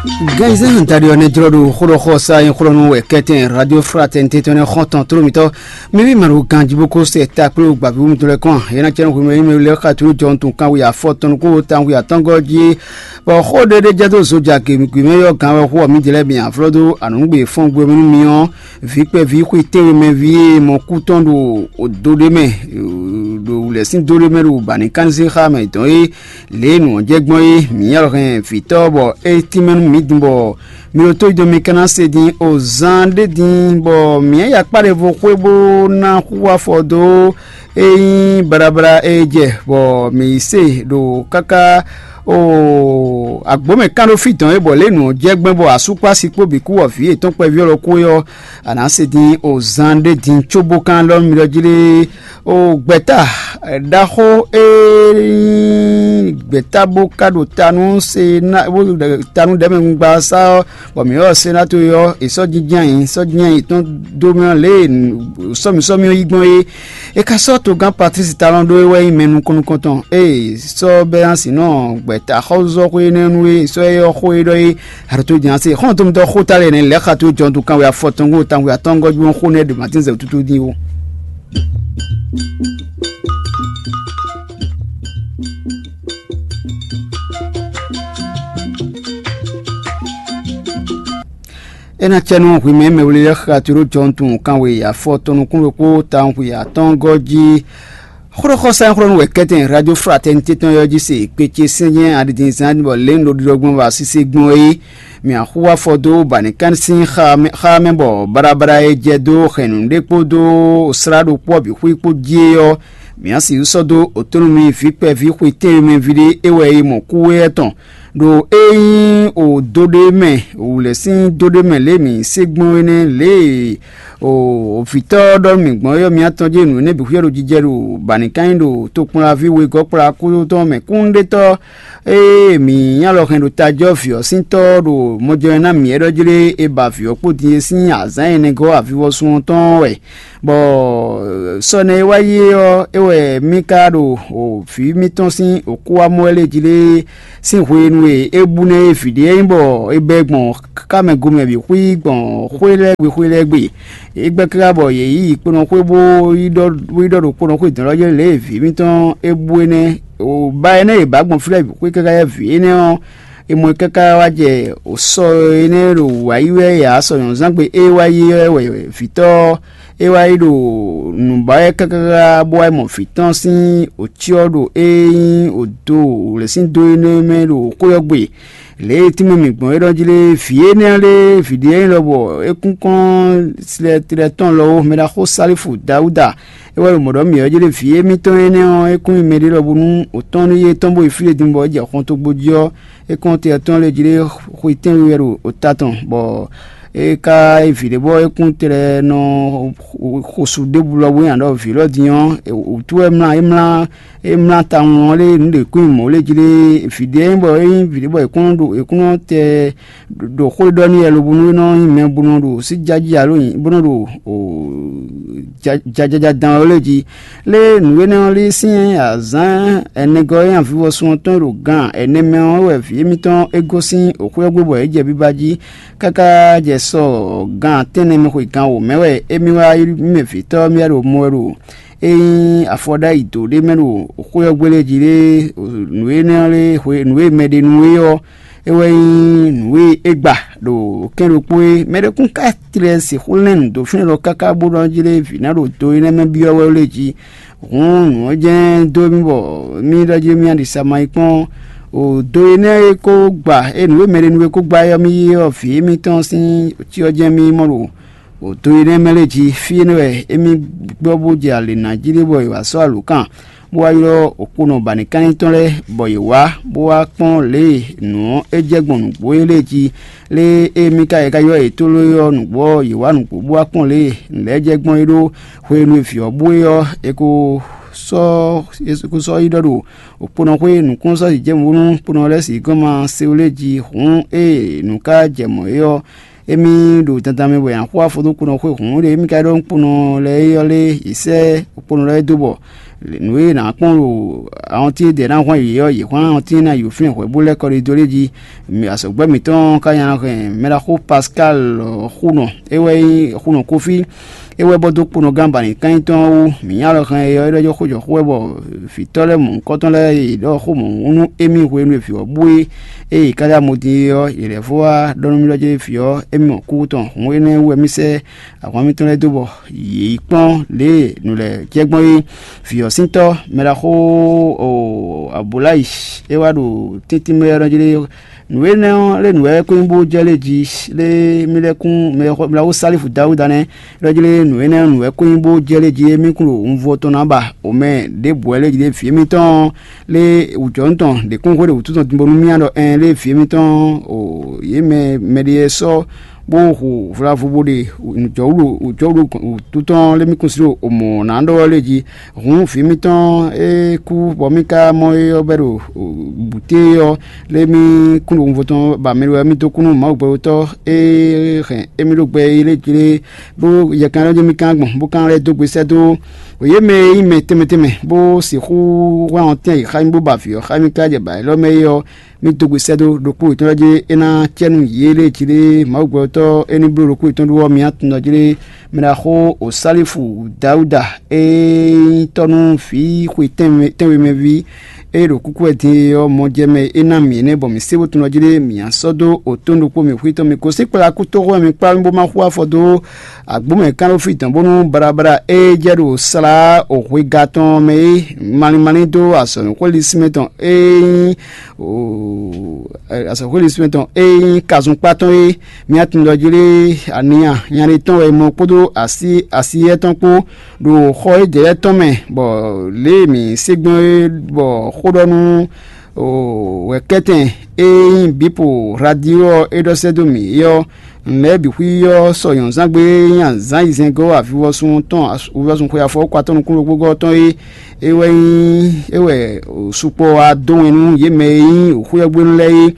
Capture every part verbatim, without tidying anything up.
Gɛnzɛ́n daɖi ɔ́ nɛ́ jlɔ́ ɖo xó ɖɔ xɔ sa nyí xlɔ́nú wɛ kɛ́tɛn Radio Fraternité tɔn nɛ́ xɔ́ntɔn tló mitɔ́. Mi ví mɛ ɖo ganjí bó kó se ta kplé gbǎví wú mitɔ́ lɛ́ɛ kɔn. É ná cɛ́ nɔ hwemɛ yí mɛ lɛ́ɛ xá tló jɔ nú tunkan wi afɔ tɔn nukún wo tan wi atɔ́ngɔ́ jí. Bɔ xó ɖé ɖé jɛ dó zoja gěmigwě mɛ yɔ gán wɛ xó ɔ́ mǐdɛɛ lɛ́ɛ mi aflɔ́ dó anǔgbé fɔ́n gbe mɛ nú mi ɔ́, vǐ kpɛví xwe tɛ́nwe mɛ ví e mɔ kú tɔn ɖo do ɖé mɛ, ɖo wǔlɛ́ sín do ɖé mɛ ɖo bǎnìkánzé xá mɛ dɔn é. Lě e nǔ ɔ́ jɛ gbɔn é, mǐ nyí alɔhɛn vǐtɔ́ bɔ é tínmɛ nú mǐ din bɔ mi ɖo tó yi do mi ka ná se din o zan ɖé din bɔ mǐ nyí yakpá ɖěvo xwé bó ná xú afɔ dó é nyí baɖabaɖa e jɛ bɔ mǐ yi se ɖo káká o agbǒ mɛ kán ɖó fí dɔn é bɔ lě e nǔ ɔ́ jɛ gbɛn bɔ asú kpó asi kpó bǐ kú wɔ vǐ yětɔn kpɛví ɔ́ ɖokpó é ɔ́, a nǎ se din o zan ɖé din cóbó kán lɔ mi ɖɔ jí lé. O gbɛ̌ta ɖaxó e nyí gbɛ̌ta bó ka ɖo ta nú se ná bó ɖo ta nú ɖɛ̌mɛ gbagba sá ɔ́, bɔ mǐ ylɔ́ Senáto e ɔ́, è sɔ́ jínjɔ́n ayǐ sɔ́ jínjɔ́n ayǐ tɔn dó mì ɔ́ lě e sɔ́mǐsɔ́mí ɔ́ yí gbɔn é. É ka sɔ́ togán Patlísi Talɔn ɖó é wɛ nyí mɛ nukɔn nukɔntɔn. Ée sɔ́ bɛ́ ná sǐ nɔ gbɛ̌ta xɔ́zɔ́xwé énɛ́ nú é sɔ́ é ɔ́ xó é ɖɔ é. Aɖótó jɛ́n ase xɔ́ntɔn mitɔ́ xó ta lɛ́ nɛ́ lɛ̌ xa tó jɔn dó kanwe afɔ tɔn gó tawun atɔ́ngɔ́ jí xó nɛ́ ɖo Matín zɛ wútútú dín ó. É ná cɛ nú hwi mɛ mɛ wlí lɛ́ɛ xa tló jɔntun kanwe afɔ tɔn nukún ɖokpó tawun xwe atɔ́ngɔ́ jí. Xóɖɔxɔsá e xlɔ́ nú wɛ kɛ́tɛn Radio Fraternité tɔn ɔ́ jí se kpe ce sɛ́nyɛ́ aɖidinzán bɔ lě un ɖo ɖiɖɔ gbɔn bɔ asísí gbɔn é. Mǐ axú afɔ dó bǎnìkán sín xá mɛ bɔ baɖabaɖa e jɛ dó hɛ̌nnu ɖé kpódó slá ɖokpó ɔ́ bǐ xwí kpó jí é ɔ́, mǐ á sixú sɔ́ dó otónúmi vǐ kpɛví xwe tɛ́nwe mɛ ví ɖé é wɛ è mɔ kú é tɔn. Ɖo é nyí o do ɖé mɛ, wǔlɛ́ sín do ɖé mɛ lě e mǐ se gbɔn é nɛ́, lě e o vǐtɔ́ ɔ́ ɖɔ nú mǐ gbɔn é ɔ́, mǐ atɔn jɛ nǔ énɛ́ bǐ xwíyɔ́ ɖo jijɛ ɖo bǎnìkánnyí ɖo tokpɔnlaví wegɔ́ kplá kúdó tɔn mɛ kúnnuɖetɔ́ e mǐ nyí alɔ hɛn ɖo tají ɔ́ vǐ ɔ́ sín tɔ́ ɔ́ ɖo mɔjɛmɛ ná mǐ é ɖɔ jlé è ba vǐ ɔ́ kpó din é sín azǎn ɛnɛ gɔ́ avivɔsun ɔ́ tɔn wɛ. Bɔ sɔ nɛ e wá yi é ɔ́, é wɛ mì ka ɖo vǐ mitɔn sín wǔkúwámɔ wɛ lě jí lé sín hwenu e é bú nɛ́ é vǐ ɖé e nyí bɔ è bɛ́ gbɔn kámɛ gomɛ bǐ xwí gbɔn xwé lɛ́ɛ gbe xwé lɛ́ɛ gbe. É gbɛ́ káká bɔ yě yi kponɔ xwé bó yi ɖɔ bó yi ɖɔ ɖo kponɔ xwé dɔ̌n lɔ́ jɛ́n lě e vǐ mitɔn é bú énɛ́. Ba énɛ́ e bǎ gbɔn fí lɛ́ɛ bǐ xwé káká yɛ́ vǐ énɛ́ ɔ́, è mɔ ɛ káká wá jɛ sɔ énɛ́ ɖo wǎ yi wɛ ǎ. Sɔ nyɔ̌nuzángbe e wá yi ɔ́ wɛ vǐtɔ́ ɔ́ é wá yi ɖo nǔ ba wɛ káká bó wá yi mɔ vǐ tɔn sín cyɔ ɖo é nyí odo wǔlɛ́ sín dó énɛ́ mɛ ɖo xwé ɔ́ gbe. Lě e tínmɛ mǐ gbɔn é ɖɔ jí lé, vǐ énɛ́ ɔ́ lé, vǐ ɖé e nyí lɔbɔ é kún kɔn slɛtlɛ tɔn lɔ ó, mɛ ɖaxó Salífu Dawúda. É wɛ ɖo mɔ̌ ɖɔ mǐ ɔ́ jí lé, vǐ émítɔn énɛ́ ɔ́, é kún nyí mɛɖé lɔbɔ nú òtɔ́n nú yé tɔn bó yi fí e din bɔ é jɛ xɔntogbo jí ɔ́, é kɔn te ɔ́ tɔn lé jí lé xwe tɛ́nwe wɛ ɖo ota tɔn, bɔ é ka yi vǐ ɖé bɔ é kún tlɛ nɔ xosu ɖěbǔ lɔ bó nyi aɖɔ vǐ lɔ din ɔ́, wǔtu wɛ mlá é mlá é mlá tawun ɔ́ lé nǔ ɖě kún nyi mɔ̌ lé jí lé. Vǐ ɖé nyí bɔ é nyí vǐ ɖé bɔ è kún nɔ ɖo è kún nɔ tɛ ɖo xó ɖɔ n'i wɛ lobo nú é nɔ nyí mɛ bó nɔ ɖo sí jají alo nyi bó nɔ ɖo jajaja dan ɔ́ lé jí. Lé nǔ énɛ́ ɔ́ lé sín azǎn ɛnɛgɔ́ e avivɔsun ɔ́ tɔn ɖo gan ɛnɛ mɛ ɔ́ wɛ vǐ émítɔn é gosín xwé ɔ́ gbe bɔ é jɛ biba jí káká jɛ sɔ gan tɛ́nnɛ mɛ xwe gan wǒ mɛ wɛ émí wá yi mɛ vǐtɔ́ mì wá ɖo mɔ wɛ ɖo é nyí afɔɖáyi dǒ ɖé mɛ ɖo xwé ɔ́ gbélé jí lé. Nǔ énɛ́ ɔ́ lé hwe nǔ e mɛ ɖe nú é ɔ́, é wɛ nyí nǔ e é gba ɖo kɛ́n ɖokpó é. Mɛ ɖé kún ka tlɛ sixú lɛ́n nǔ dó fínɛ́ lɔ káká bó nɔ́ jlé vǐ ná ɖo do énɛ́ mɛ byɔ́ wɛ lé jí. Hǔn nǔ ɔ́ jɛ́n dó mì bɔ mì ɖɔ jí mì aɖisa ma yi kpɔ́n o do énɛ́ e ko gba e nǔ e mɛ ɖe nú é ko gba é ɔ́, mì yí ɔ́ vǐ émítɔn sín cyɔ jɛ́n mì mɔ ɖo o do énɛ́ mɛ lɛ́ɛ jí. Fí énɛ́ wɛ émí gbɔ bó jɛ alě ná jí ɖé bɔ è wǎ sɔ́ alǒkan bó wá ylɔ́ okponɔ bǎnìkánní tɔn lɛ́ɛ, bɔ yě wá bó wá kpɔ́n lě e nǔ ɔ́ é jɛ gbɔn nǔgbó é lɛ́ɛ jí. Lě e mì ka yě ká ylɔ́ yě tlóló é ɔ́, nǔgbó ɔ́, yě wá nǔgbó bó wá kpɔ́n lě e nǔ lɛ́ɛ jɛ gbɔn é ɖó hwenu e vǐ ɔ́ bú é ɔ́, è ko sɔ́ è ko sɔ́ yi ɖɔ ɖo okponɔ xwé nǔkplɔ́nsɔ́ jijɛ bónú kponɔ lɛ́ɛ sixú gɔ́n ma se wú lé jí. Hǔn ée nǔ ka jɛ mɔ̌ é ɔ́, émí ɖo dandan mɛ bɔ è nǎ xo afɔ dó kponɔ xwé hǔn ɖe émí ka ɖɔ nú kponɔ lɛ́ɛ é ɔ́ lé, è sɛ́ kponɔ lɛ́ɛ dó bɔ nǔ e nǎ kpɔ́n ɖo awɔntín e dɛ̌ ná hwán yě ɔ́, yě hwán awɔntín e ná yi wǒ flɛ́n hwɛ̌ bó lɛ́ kɔ ɖ'é dó lé jí. Azɔ̌gbɛ́ mǐtɔn ka nya hɛn mɛɖaxó Pascal Xunɔ, é wɛ nyí Xunɔ Kófí, é wɛ bɔ dó kponɔgán ba nǐ kán nyí tɔn ɔ́ wú. Mǐ nya lɔ hɛn é ɔ́, é ɖɔ jó xó jɔ xó wɛ bɔ vǐtɔ́ lɛ́ɛ mɔ̌hunkɔtɔn lɛ́ɛ e yě ɖɔ xó mɔ̌hun nú émí hwenu e vǐ ɔ́ bú é, ée yě ka lɛ́ amɔ din é ɔ́, yě lɛ́ fó wá ɖɔ nú mì ɖɔ jɛ́n vǐ ɔ́, émí mɔ kúkú tɔn. Hǔn énɛ́ wú wɛ mì sɛ́ ahwan mitɔn lɛ́ɛ dó bɔ yě yi kpɔ́n lě e nǔ lɛ́ɛ jɛ gbɔn é. Vǐ ɔ́ sín tɔ́, mɛ ɖaxó Abulayi, é wá ɖo tɛ́ntin mɛ ɔ́ jí lé. Nǔ énɛ́ ɔ́, lé nǔ wɛ é ko nyí bó jɛ lé jí, lé mì lɛ́ kún mɛ mɛ ɖaxó Salifu Dawuda nɛ́. Ɖɔ jí lé nǔ énɛ́ ɔ́, nǔ wɛ é ko nyí bó jɛ lé jí é mì kún ɖo un vɔ tɔn ná ba. O mɛ ɖěbǔ wɛ lé jí lé vǐ émítɔn ɔ́, lé wǔjɔnú tɔn ɖě kún hwe ɖo wǔtu tɔn din bónú mía ɖɔ ɛn lé vǐ émítɔn ɔ́, yě mɛ mɛɖé sɔ́ bó hu vlavo bó ɖe jɔwúɖo jɔwúɖo wútu tɔn lé mì kún sin ɖo mɔ̌ ná ɖɔ ɔ́ lé jí. Hǔn vǐ mitɔn e kú bɔ mì ka mɔ é ɔ́ bɛ́ ɖo bǔté ɔ́, lé mì kún ɖo wunvo tɔn ba mɛ wɛ mì dó kú nú Mawu gbɛɖotɔ́ e hɛn émí ɖó gbɛ é lé jí lé, bó yɛ kan ɖɔ jí mì kán gbɔn bó kán lɛ́ dó gbe sɛ́ dó yě mɛ e nyí mɛ tɛnmɛ tɛnmɛ bó sixú hwlán ɔ́ tɛ́n yě xá mì bó ba vǐ ɔ́ xá mì káká jɛ ba élɔ́ mɛ é ɔ́, mì dó gbe sɛ́ dó ɖokpó yětɔn lɛ́ɛ jí é ná cɛ nú yě lée jí lé Mawu gbɛtɔ́ é ní bló ɖokpó yětɔn ɖó ɔ́, mi ná tunwun jí lé mɛ ɖaxó Osalifu Dawuda e nyí tɔ́ nú vǐ xwe tɛ́nwe mɛ ví e ɖo kúkú wɛ din é ɔ́ mɔ jɛ mɛ é ná mì énɛ́ bɔ mǐ sé bó tunwun jí lé mǐ ná sɔ́ dó otɔ́n ɖokpó mǐ xwítɔ́ mì gosín kplá kútóxó wɛ mi kplá mì bó má xú afɔ dó agbǒmɛ kánɖófí dɔn bónú baɖabaɖa e jɛ ɖo slá hwega tɔn mɛ é malín malín dó azɔ̌núxwé lísínmɛ tɔn e nyí azɔ̌xwé lísínmɛ tɔn e nyí kazunkpá tɔn é. Mía tunwun ɖɔ jí lé aniya nyaɖé tɔn wɛ mɔ kpódó asi asiyɛ tɔn kpó ɖo xɔ e jɛ lɛ́ɛ tɔn mɛ, bɔ lě e mǐ se gbɔn é bɔ xó ɖɔ nú wɛ̌kɛ́tɛn e nyí Bipo Radio ɔ́ é ɖɔ sɛ́ dó mǐ é ɔ́, nǔ lɛ́ɛ bǐ xwí ɔ́ sɔ nyɔ̌nuzángbe e nyí azǎn ayizɛ́ngɔ́ avivɔsun tɔn avivɔsun xwe afɔwúkpatɔ́ nukúnɖokpógɔ́ tɔn é é wɛ nyí é wɛ sukpɔ́ wá dó wɛn nú yě mɛ e nyí wǔxwíyɔ́gbénu lɛ́ɛ é.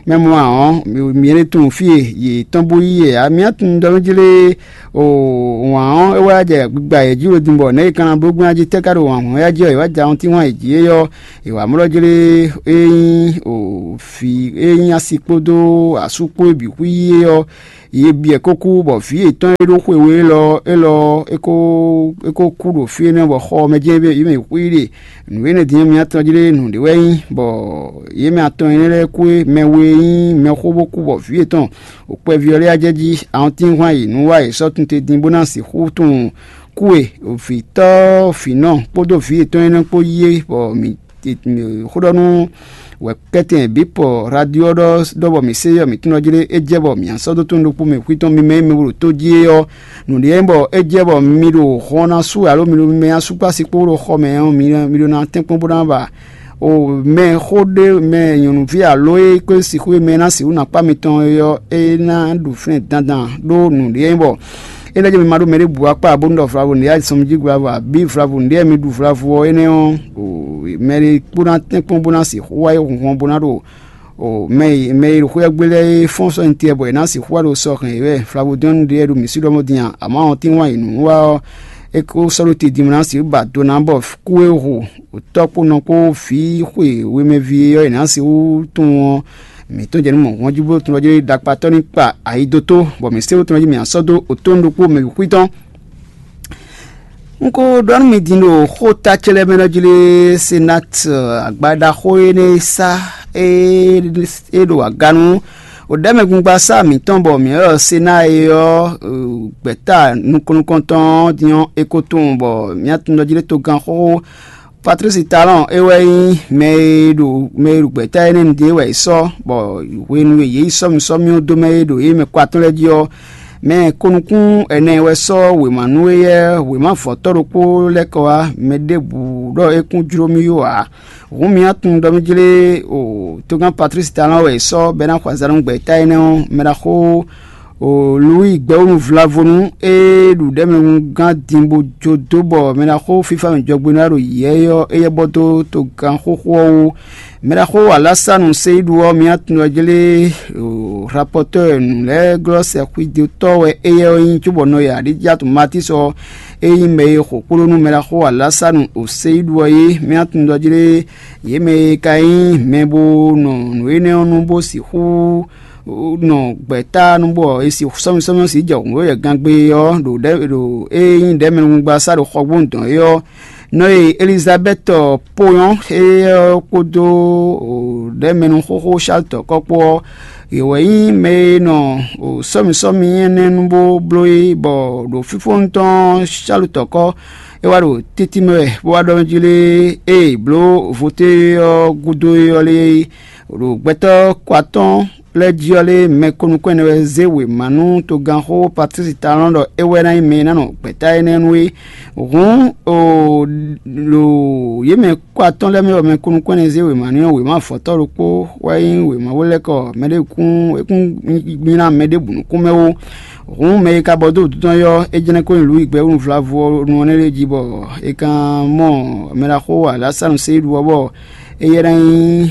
Mɛ mɔ ǎ ɔ́, mǐ ní tunwun fí e yě tɔ́n bó yí yɛ ǎ. Mǐ ná tunwun ɖɔ nú jí lé wǎn ɔ́ é wá jɛ gbigba yě jí ɖo din bɔ nɛ̌ è ka ná bló gbɔn jí tɛ́ ka ɖo wǎn hɔn yá jí ɔ́, è wá jɛ awɔntín wán yě jí é ɔ́, è wǎ mlɔ́ jí lé é nyí vǐ e nyí asi kpódó asú kpó e bǐ xwí yí é ɔ́, yě byɔ́ kó kú, bɔ vǐ yětɔn e ɖó xwe we élɔ́ élɔ́ é ko é ko kú ɖo fí énɛ́ bɔ xɔ ɔ́ mɛ jɛ́n yě mɛ xwí ɖe. Nǔ énɛ́ din ɔ́, mi atɔn jí lé nǔɖé wɛ nyí, bɔ yě mɛ atɔn énɛ́ lɛ́ɛ kú é, mɛ we e nyí mɛxó bó kú bɔ vǐ yětɔn ɖo kpɛví ɔ́ lɛ́ɛ jɛ jí awɔntín hwan yě nú wá yě sɔ́ tunte din bó ná sixú tunwun kú e vǐtɔ́ vǐnɔ kpódó vǐ yětɔn énɛ́ kpó yí é, bɔ mǐ xó ɖɔ nú wɛ̌kɛ́tɛn bǐ pɔ radio ɔ́ ɖɔ ɖɔ bɔ mǐ se yɔ mǐtɔn jí lé é jɛ bɔ mǐ sɔ́ dó tɔn ɖokpó mɛ xwítɔ́ mímɛ́ mɛ bó ɖo tó jí é ɔ́, nǔɖé nyí bɔ é jɛ bɔ mi ɖo hɔn ná sú alo mi ɖo mɛ asúkpási kpó ɖo xɔ mɛ ɔ́, mi ɖo ná tɛ́nkpɔ́n bó ná ba o mɛ xó ɖé mɛ nyɔ̌nuví alo e kó sixú e mɛ ná sixú ná kpá mitɔn é ɔ́, é ná ɖu flɛ́n dandan ɖó nǔɖé nyí bɔ é ná jɛ mi ma ɖó mɛ ɖěbǔ akpá bónú ɖɔ vlavo nǔɖé azɔn mi jí vlavo abǐ vlavo nǔɖé mi ɖu vlavo ɔ́ énɛ́ ɔ́, mɛ ɖé kpó ná tɛ́nkpɔ́n bó ná sixú wá yi hunhɔn bó ná ɖo mɛ e mɛ e ɖo xwé ɔ́ gbe lɛ́ɛ é fɔ́n sɔ́ nyi tɛɛ bɔ è nǎ sixú wá ɖo sɔ hɛn yě wɛ. Flavodɔ́nu ɖíe ɖo mǐ sí ɖɔ mɔ din a, amɔ̌ ɔ́ tínwá yi nǔ wa ɔ́, é ko sɔ́ ɖó te din bó ná sixú ba do ná bɔ kú e hu tɔ́ kpó nɔ kpó vǐ xwe wemɛví e ɔ́ è nǎ sixú tunwun ɔ́, mǐ tɔ́n jɛ nú mɔ̌hunhɔ́n jí bó tunwun ɔ́ jí ɖakpatɔ́ ní kpa ayi dó tó, bɔ mǐ sé wú tunwun ɔ́ jí mǐ ná sɔ́ dó otɔ́nu ɖokpó mɛ bǐ xwítɔ́. Un ko ɖɔ nú mi din ɖo xó ta ce lɛ́ɛ mɛ nɔ jí lé Senat agbaɖaxó énɛ́ e sá é ɖo aga nú ɖɛ̌mɛgbungba sá mǐtɔn bɔ mǐ ylɔ́ Sena é ɔ́ gbɛ̌ta nukɔn nukɔntɔn ɔ́ din ɔ́, è ko tunwun bɔ mǐ tunwun ɖɔ jí lé togán xóxó Patlísi Talɔ́ɔn é wɛ nyí mɛ e ɖo mɛ e ɖo gbɛ̌ta énɛ́ nu din é wɛ è sɔ́, bɔ hwenu e yě yi sɔ́ mì sɔ́ mì ɔ́ dó mɛ e ɖo yě mɛ kɔ atɔ́ɔ́n lɛ́ɛ jí ɔ́, mɛ ko nukún ɛnɛ wɛ sɔ́ wěma nú éyɛ́ wěma vɔ̌tɔ́ ɖokpó lɛ́ kɔ wá. Mɛ ɖěbǔ ɖɔ é kún jló mì yó ǎ. Hǔn mi ná tunwun ɖɔ mì jlé o togán Patlísi Talɔ́ɔn wɛ è sɔ́ bɔ é ná xɔ azǎn nú gbɛ̌ta énɛ́ ɔ́, mɛ ɖaxó O Luwi gbɛwúnu vlavonu e ɖu ɖɛ̌mɛnu gán din bó jó dó bɔ mɛɖaxó fífá mɛ jɔgbe ná ɖo yɛ̌yɔ́ éyɛ́ bɔ dó togán xóxó ɔ́ wú. Mɛɖaxó Alasanu Seyidu ɔ́, mía tunwun ɔ́ jlé rapɔtɔ́ nǔ lɛ́ɛ glɔ́ sɛxwídótɔ́ wɛ éyɛ́ ɔ́ nyí, cóbɔ nɔ e Adijatu Matísi ɔ́, é nyí mɛ e xo kpló nú mɛɖaxó Alasanu Seyidu ɔ́ é. Mía tunwun ɔ́ jlé yě mɛ e ka nyí mɛ bo nɔ nǔ énɛ́ ɔ́ nu bó sixú nɔ gbɛ̌ta nú bɔ è si sɔ́mì sɔ́mì ɔ́ sǐ jɛ hǔnɖóyɛgangbe ɔ́ ɖo ɖɛ̌ ɖo é nyí ɖɛ̌mɛnugba sá ɖo xɔgbónu dɔn é ɔ́, nɔ e Elizabɛ́ti ponyɔ́ éyɛ́ ɔ́ kpódó ɖɛ̌mɛnu xóxó Salutɔkɔ́ kpó ɔ́, yě wɛ nyí mɛ e nɔ sɔ́mì sɔ́mì énɛ́ nu bó bló é, bɔ ɖo fífónu tɔn Salutɔkɔ́ é wá ɖo títí mɛ wɛ bó wá ɖɔ nú jí lé, ée è blǒ voté ɔ́ gúdo é ɔ́ lé, ɖo gbɛtɔ́ kɔ atɔ́ɔ́n lɛ́ɛ jí ɔ́ lé, mɛ ko nukún ɛnɛ wɛ zé wěma nú togánxó Patlísi Talɔ́n ɖɔ é wɛ ná nyí mɛ e ná nɔ gbɛ̌ta énɛ́ nu é. Hǔn, ɖo yě mɛ kɔ atɔ́ɔ́n lɛ́ɛ mɛ wɛ mɛ ko nukún ɛnɛ zé wěma n'i ɔ́, wěma vɔ̌tɔ́ ɖokpó wɛ nyí wěma wó lɛ́ kɔ mɛɖé kún é kún nylá mɛ ɖěbǔ nukún mɛ ó. Hǔn mɛ e ka bɔ dó wǔtu tɔn é ɔ́, é jlɛ́n kó nyi Luwi gbɛ́ wúnuvlávu ɔ́ nu ɔ́ nɛ́ lɛ́ɛ jí bɔ è kan mɔ mɛɖaxó Alasanu Seyidu ɔ́ bɔ éyɛ́ ná nyí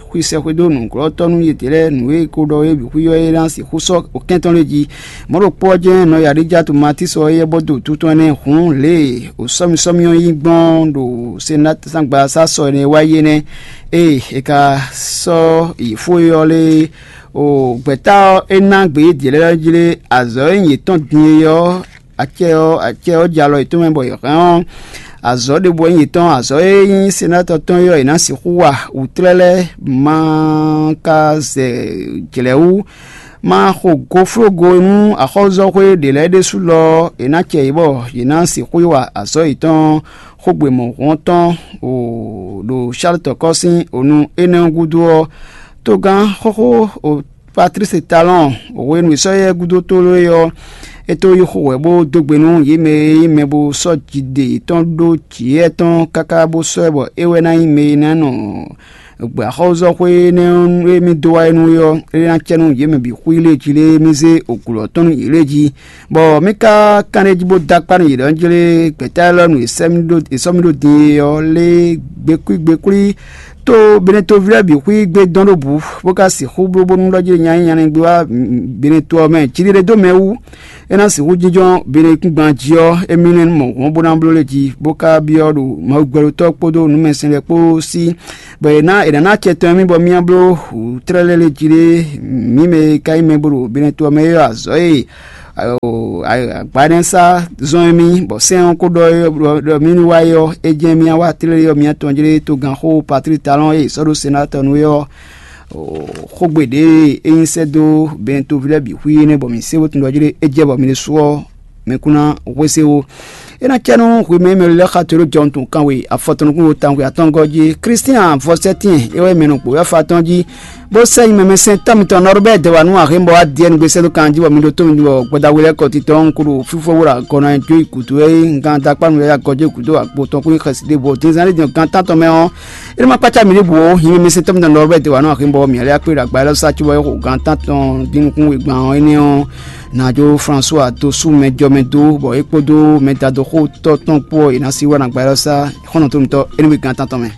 xwísɛ́xwé dó nǔglɔ́tɔ́ nú yědɛɛ lɛ́ɛ. Nǔ e è ko ɖɔ é bǐ xwí ɔ́, é ná sixú sɔ́ kɛ́ntɔ́n lɛ́ɛ jí. Mɔ̌ ɖokpó ɔ́ jɛ́n nɔ Yaɖíjatu Matísɔ éyɛ́ bɔ dó wǔtu tɔn énɛ́ hǔn lě e sɔ́misɔ́mi ɔ́ nyí gbɔn ɖo Senáti-sángbasá sɔ énɛ́ wá yi énɛ́. Ée è ka sɔ́ yi fó é ɔ́ lé, o gbɛ̌ta ɔ́, é ná gbe yědɛɛ lɛ́ɛ jlé azɔ̌ e nyí yětɔn din é ɔ́, acɛ ɔ́, acɛ ɔ́ jɛ alɔ yětɔn mɛ bɔ yě hɛn ɔ́, azɔ̌ ɖěbǔ wɛ nyí yětɔn. Azɔ̌ e nyí senátɔ tɔn é ɔ́, yě ná sixú wa wǔtlɛ́ lɛ́ɛ ma ka zɛ jlɛ̌ wú, ma xo goflógo nú axɔ́zɔ́xwé ɖě lɛ́ɛ ɖésú lɔ ɔ́, è nǎ cɛ yě bɔ yě ná sixú yi wa azɔ̌ yětɔn xógbe mɔ̌hun ɔ́ tɔn ɖo Salutɔkɔ́ sín onu énɛ́ ɔ́ gúdo ɔ́, togán xóxó Patlísi Talɔ́ɔn, hwenu e sɔ́ yɛ gúdo tlóló é ɔ́, é tó yí xo wɛ bó dó gbe nú yě mɛ e nyí mɛ bó sɔ́ jiɖe yětɔn ɖó jǐ yɛ tɔn káká bó sɔ́ ɛ bɔ é wɛ ná nyí mɛ e ná nɔ gbɛ axɔ́zɔ́xwé énɛ́ ɔ́ e mì dó wá é nú é ɔ́, é ná cɛ nú yě mɛ bǐ xwí lě jí lé mì zé ògǔlɔ tɔn nú yě lě jí. Bɔ mì ka kanɖéjí bó dó akpá nú yě ɖɔ jlé gbɛ̌ta élɔ́ nu è sɔ́ mì ɖó din é ɔ́ lé gbekúgbekúlí tó Benetoví lɛ́ɛ bǐ xwí gbé dɔn ɖó bǔ, bó ka sixú bló bónú ɖɔ jí nya nyí nyanígbé wá Beneto ɔ́ mɛ. Jiɖiɖe dó mɛ wú, é ná sixú jínjɔ́n Benekúngban jí ɔ́, émí nɛ́ mɔ hɔn bó ná bló lé jí, bó ka byɔ́ ɖo Mawu gbɛɖotɔ́ kpódó nǔmɛsɛn lɛ́ɛ kpó sí, bɔ è nǎ è nǎ ná acɛ tɔn émí bɔ mì ná bló wǔ tlɛ́ lɛ́ɛ lé jí ɖé. Mǐ mɛ e ka nyí mɛ bó ɖo Beneto ɔ́ mɛ é ɔ́, azɔ̌ e agbanɛ́sá zɔ́n émí, bɔ sɛ́n ɔ́ ko ɖɔ ɖɔ mì ní wá é ɔ́, é jɛ́n mì wá tlélé ɔ́, mì tɔn jlé togánxó Patlísi Talɔ́ɔn e è sɔ́ ɖó senátɔ nu é ɔ́, xógbe ɖě e é nyí sɛ́ dó Bɛntoví lɛ́ɛ bǐ xwí énɛ́ bɔ mǐ se bó tunwun ɖɔ jlé é jɛ bɔ mi ɖésú ɔ́, mi kún ná hwesé ó. É ná cɛ nú hwi mɛ e mɛ lɛ́ɛ xa to ɖó jɔhɔn tɔn kanwe afɔtɔn nukún wo tawun atɔ́ngɔ́ jí. Klístian Vɔsɛ́tin é wɛ mɛ nɔ gbǒ yɔ́fa tɔn jí, bó sɛ́ nyi mɛmɛsɛntɔ́ mitɔn Nɔrbɛ́ɛ Dɛwanu Ahémbɔ wá diɛ nugbe sɛ́ dó kan jí bɔ mi ɖótó mi bɔ gbɔdagbe lɛ́ɛ kɔ titɔ ɔ́, un ko ɖo fífó wó ɖo agɔ ná jǒ yi gǔdo é, un gán dó akpá nú yɛ agɔjó gǔdo agbo tɔn kún nyi xɛsi ɖěvo. Dín zán ɖé din gan tántɔn mɛ ɔ́, é nɔ ma kpácá mi ɖěbǔ ó. Nyɛ mɛsɛntɔ́ mitɔn Nɔrbɛ́ɛ Dɛwanu Ahémbɔ mǐ lɛ́ akpé ɖo agba élɔ́ sá cóbɔ é xo gan tántɔn dín nukún wegban ɔ́ énɛ́ ɔ́, nǎ jó Flasuwa dó sú mɛ jɔ mɛ dó, bɔ é kpódó mɛdadóxótɔ́ tɔn kpó ɔ́, è nǎ sí wá nú agba élɔ́ sá xɔ́ntɔn tó mitɔ́ é nú gan tántɔn mɛ.